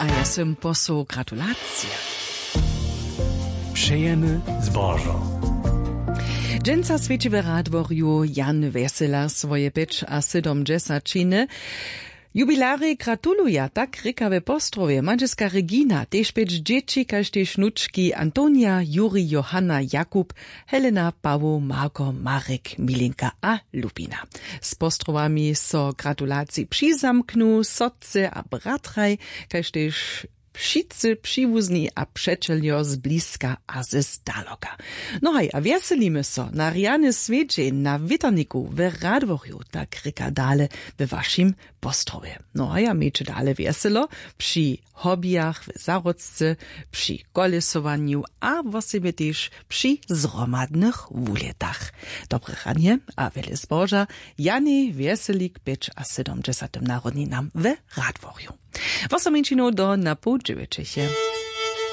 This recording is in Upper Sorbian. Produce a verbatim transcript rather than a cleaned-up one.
Ja sym posłał gratulacije. Přejemy zbožo. Dźensa swjeći w Radworju Jan Wjesela swoje pěćasydomdźesaćiny. Jubilarjej gratuluja, tak rěka we Postrowje mandźelska Regina, tež pjeć dźěći, kaž tež wnučki Antonia, Juri, Johanna, Jakub, Helena, Pawoł, Marko, Marek, Milinka a Lubina. Z Postrowami so gratulacij přizamknu sotře a bratraj, kaž tež wšitcy přiwuzni a přećeljo z bliska a ze zdaloka. No haj, a wjeselimy so na rjany swjedźeń na wětrniku w Radworju, tak rěka dale we wašim Postrowje. No a ja mějće dale wjeselo při hobijach w zahrodce, při kolesowanju a wosebje tež při zhromadnych wulětach. Dobre ranje a wjele zboža Janej Wjeselik pěćasydomdźesatym narodninam w Radworju. Wosominčinow do na poł dźewjećeche.